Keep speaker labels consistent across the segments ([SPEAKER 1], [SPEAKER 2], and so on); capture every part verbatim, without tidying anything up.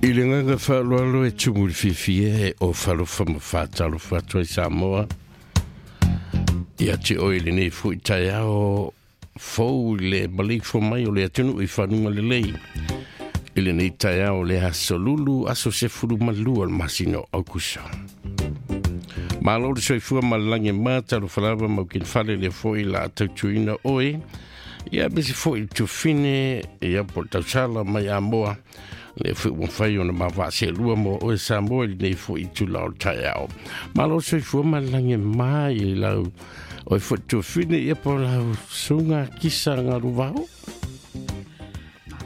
[SPEAKER 1] I le gaga faaaloalo e tumu i le fiafia e o falofa ma faatalofa atu ai Samoa. Ia te oe lenei fo'i taeao fou i le maleifua mai o le atunuu i fanuga lelei. I lenei taeao o le aso Lulu, aso sefulu ma lua o le masina o Aukuso. Malo le soifua ma le lagi e ma, talofa lava mau kinfale le fo'i la tautuina oe. Ia mese fo'i tufine, ia po tausala mai Amoa. Le foi ua fai ona mavaselua mo oe Samoa i lenei fo'i itula o le taeao. Malo le soifua ma le lagi e ma i lau oe fo'i tuafine ia po lau suga kisa galuvao.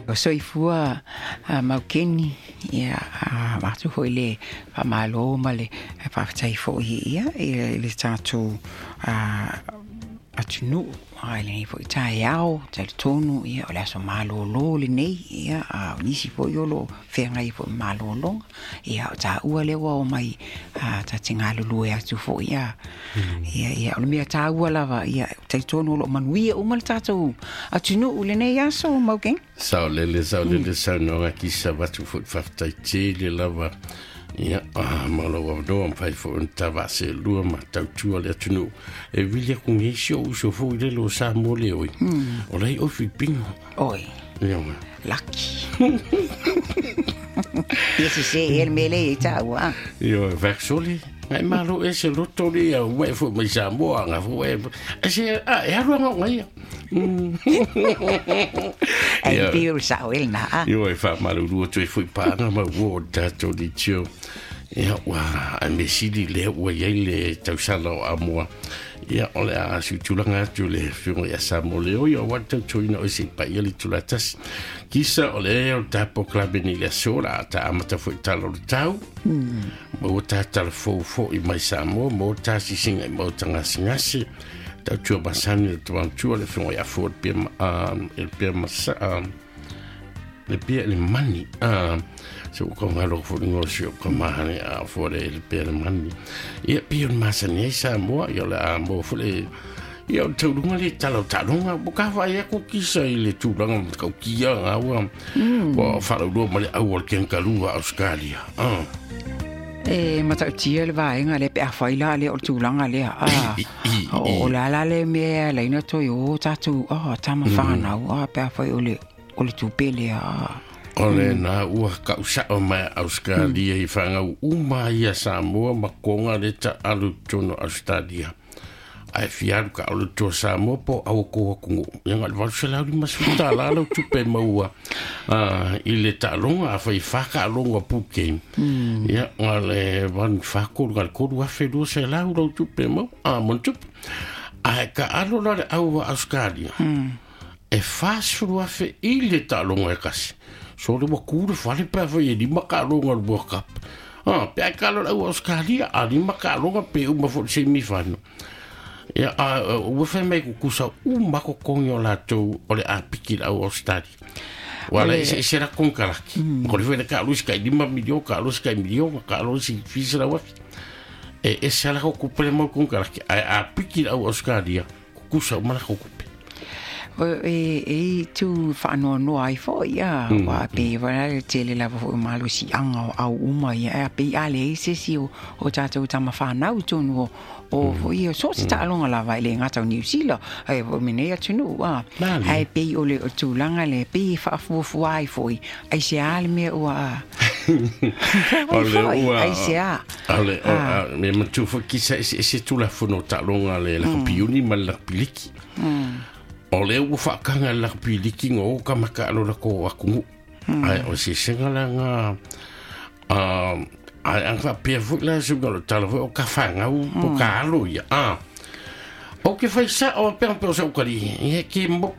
[SPEAKER 2] O soifua uh, maukeni ia uh, atu foi le faamalo ma le faafetai foi ia i le tatou uh, atunuu ai lenei foi taeao talitonu ia o le aso malōlō lenei ia a o nisi foi o loo feagai foi ma malōlōga ia o taua lea ua omai a ta te galulue atu foi ia ia ia o le mea taua lava ia talitonu o loo manuia uma le tatou atunuu lenei aso maukeni.
[SPEAKER 1] Sao lele, sao lele, saunoaga kisa vatu foi faafetai tele lava. Ia, ah, ma lou avanoa mafai foi ona tavaselua ma tautua le atunuu. E vili aku nei si ou uso foi lele o Samoa le oi. O lai oi Filipino.
[SPEAKER 2] Oi.
[SPEAKER 1] Ia ua.
[SPEAKER 2] Laki. Ia sese e le mea lea i taua.
[SPEAKER 1] Ia, vaksoli. Ngai malo e se loto le ia ua e foi mai Samoa nga foi e. E se, a, e alu anga ngai ia.
[SPEAKER 2] Ai pei o le sao e lena a.
[SPEAKER 1] Ia, e faamalulu atu ai foi paaga ma ua o le tatou leitio. Ia, ua, ai me sili lea ua iai le tausala o Amoa. Ia, o le a siutulaga atu le afioga ia Samoa le oi, o ua tautuina o se paia le itula tasi. Kisa o le o le tapo klabe ni le aso la ta amata foi tala o le tau. Ma ua tatala fou fo'i mai Samoa, ma ua tasisiga i maota gasegase. Tautua masani le tamatua le afioga ia Fua le pia ma- le pia masa- le pia le mani. Se ua kaugalo foi le gosi o ka mahane a fua le le pia le mani. Ia pia o le masani ai Samoa, ia o le a moa foi le ia o le tauluga le tala o taaloga. Ua ka vaai aku kisa i le tulaga ma taukia ngā ua ua faalaulua ma le au o le kenkalua Australia. Ah.
[SPEAKER 2] E matautia le vaega le pe afai la le o le tulaga lea a o o le ala le mea laina toe o tatou a tama whanau a pe afai o le o le tupe lea a.
[SPEAKER 1] O le na ua kausao mai Australia i whangau uma ia Samoa ma konga le ta alu tono Australia. Ai fialu ka alu tua Samoa po au ko aku ngu. Ia nga le valu se lau lima suta la lau tupe maua. Ah, i le taaloga a fai whaka alonga puke. Ia nga le van whakolu nga le koru afe lua se lau lau tupe mau. Ah, mon tupe. Ai ka alo la le au a Australia. E whasuru afe i le taaloga e kasi. So le ua kure whale pea whai e lima ka alonga le World Cup. Ah, pea ka alo le au Australia, a lima ka alonga pe uma fo le semi-final. Ia, a, ua whai mai kukusa u mako kongi o lātou o le apiki le au Australia. Wala,
[SPEAKER 2] Le-
[SPEAKER 1] e se la konkalaki. Ko le whai ka alu si kai lima milio, ka alu si kai milio, ka alu si fisa la wafi. E, e se la kukupe le mau konkalaki. Ai apiki le au Australia, kukusa uma la kukupe.
[SPEAKER 2] O, e e tu whaanoanoa ai foi a wa pe wa le tele lava foi malosiaga o au uma ia a pe a le se si o o tatou tama whanau tonu o o foi o so se taaloga lava i le gata o New Zealand ai o mene atunuu a
[SPEAKER 1] Mali.
[SPEAKER 2] ai pe o le o tulaga le pe whaafuafua ai foi ai se a le mea ua a
[SPEAKER 1] O le
[SPEAKER 2] foi
[SPEAKER 1] ua
[SPEAKER 2] ai se a
[SPEAKER 1] O le o a me matu fo kisa e se se tula fono taaloga le la piuni ma le la piliki. O le ua whaakanga le la piliki ngo o ka maka alo la ko akungu. Ai o se senga la nga ai ang wha pia fo la sunga lo tala fo o ka whangau po ka alo ia. Ah. O ke whai sa o pea pea o sa ukari. Ia ke mo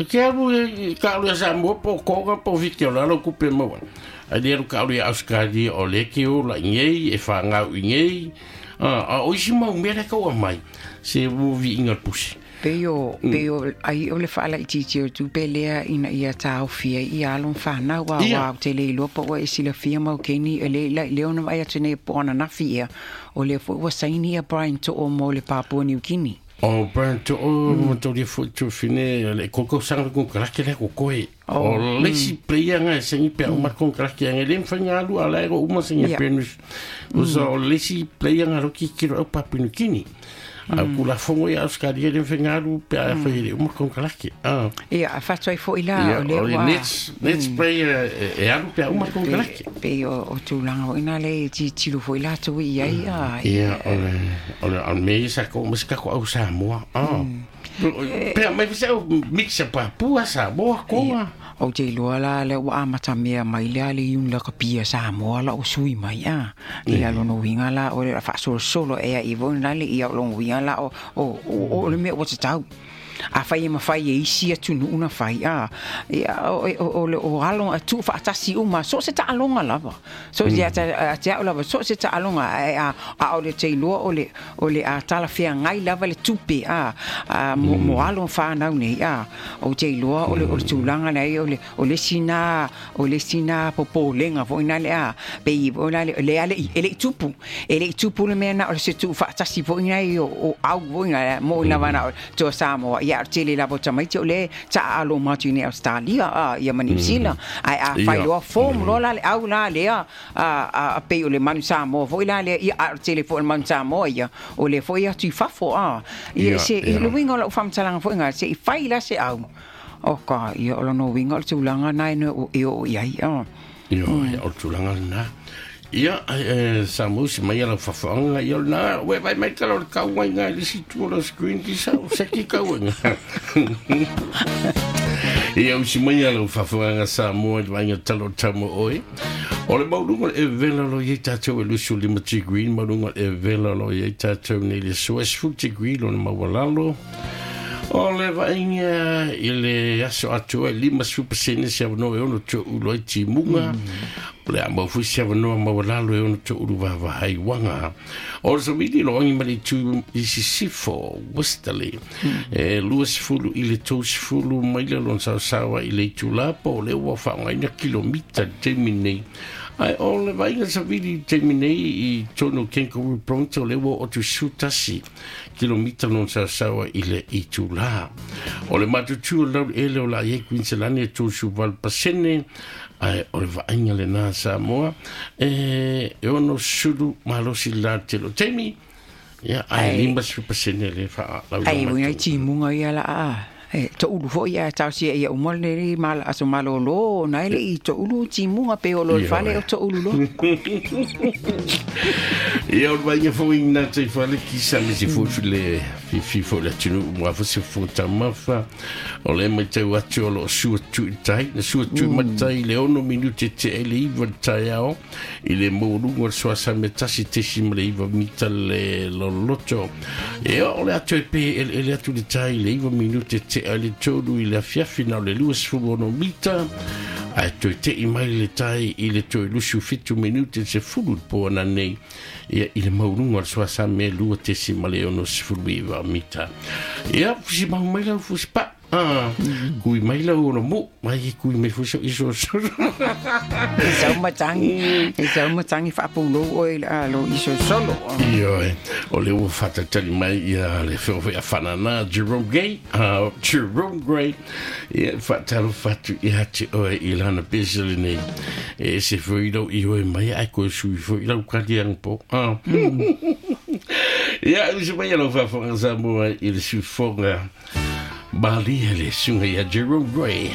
[SPEAKER 1] ke alu e ka alu ia sa mo po konga po viki o lalo kupe maua. Ai le alu ka alu ia Australia o le ke o la ingei e whangau ingei. Ah, a o isi mau mea le kaua mai. Se wuvi inga pusi.
[SPEAKER 2] Pe o, pe o, ai o le whaala i titi o tupe lea ina ia tāofia i alon whanau a
[SPEAKER 1] Ia.
[SPEAKER 2] wā o te le iloa pa ua e silafia mau keni e le la leo na vai atu nei po ana nafi ia o le fo ua saini ia Brian To'o mo le Papua New Guinea.
[SPEAKER 1] O Brian to o mo to fu tu fine le koko sang ko krake le ko koe. O le si player nga sengi pe o ma kon krake nga le mfanga lu ala o uma sengi penus. O so le si player nga ro ki ki ro papinukini. A kula fongo ia Australia le mfanga lu pe a fa le uma kon krake. Ah.
[SPEAKER 2] Ia a fatoi fo ila o le
[SPEAKER 1] wa. Nets nets player e alu pe uma kon krake.
[SPEAKER 2] Pe o tulaga o ina le ti tilo fo ila tu ia ia.
[SPEAKER 1] Ia o le o le o me sa ko mas ka ko au Samoa. Ah. Pe mai se mixa Papua Samoa ko.
[SPEAKER 2] O te loa la le ua amata mea mai lea le iuni la kapia Samoa la o sui mai a. Ia lona uiga la o le faasolosolo ea i vona le ia o lona uiga la o o o le mea ua tatau. A fai e mafai e isi atunuu na fai a. Ia o o le o alo a tu faatasi uma so se taaloga lava. So se a te au lava so se taaloga a a o le teiloa o le o le a talafeagai lava le tupe a a mo mo alo whanau nei a. O te iloa o le o le tulaga nei o le o le sina o le sina popolega foi na le a. Pe i o la le le ale e le tupu e le tupu le mea na o se tu faatasi foi nei o o au foi na mo na vana to Samoa ia tele lava tamaiti o le taalo matu nei Australia a ia ma New Zealand ai a fai loa form loa la le au la le a a pe o le manu Samoa foi la le ia a tele foi le manu Samoa ia o le foi atu i fafo a ia se i le uiga o lau faamatalaga foi ga se i fai la se au o ka ia o lona uiga o le tulaga nae e oo i ai a
[SPEAKER 1] ia o le tulaga lena ia Samoa se mai ala fafaga ia na we vai mai tala o le kauaiga i le isi tu o le screen ki sa o seki kauaiga ia usi mai ala fafaga Samoa i le vaiga tala o tama oe o le mauluga e vela lo iai tatou e lusu lima degree mauluga e vela lo iai tatou nei le soa sefulu degree lona maualalo o le vaaiga i le aso atoa e lima sefulu pasene se avanoa e ono to'ulu ai timuga o le a maufui se avanoa maualalo e ono to'ulu vavahaiuaga o le savili loagi ma le itu i sisifo Westerly e lua sefulu i le tou sefulu maila lona saosaoa i le itulā po o le ua faaaogaina kilomita le taimi nei ai o le vaaiga savili i taimi nei i tonu Kangaroo Pronto le ua o tusu tasi kilomita lona saosaoa i le itulā o le matutu o lau ele o la iai Queensland e tosu valu pasene ai o le vaaiga lenā Samoa e e ono sulu malosi la tele o taimi ia ai lima sefulu pasene le faalauina
[SPEAKER 2] ai uiga i timuga ia la a e to'ulu foi ia tausia ia uma le mala aso malōlō na ele i to'ulu timuga pe o lo le fale o to'ulu loa
[SPEAKER 1] ia o le vaiga foi na te fale kisa me se fofu le fifi fo le atunuu mua fo se fotamafa o le matau atu o loo sua tui tai na sua tui matai le ono minute te ele iwa le taeao i le maualuga o le soasa me tasi tesi ma le iwa mita le loloto e o le atu e pe ele atu le tai le iwa minute te ale tolu i le afiafi na o le lua sefulu ono mita ae toe te'i mai le tai i le toe lusu fitu minute se fulu le poana nei ia i le maualuga o le soasa me lua tesi ma le ono sefulu iwa mita ia fusi mau mai lau fusi pa ah kui mai lau ono mo mai kui mai fusi iso solo
[SPEAKER 2] e sau matangi e sau matangi faapulou oe a lo iso solo
[SPEAKER 1] ia o le ua fatatali mai ia le feofea fanana Jerome Gay uh, Jerome Gray ia faatalo fatu ia te oe i lana pesa lenei e se foi lau i oe mai ai koe sui foi lau kaliaga po ah ia usi mai lau faafoga Samoa i le sufoga Malia le sunga ia Jerome Gray.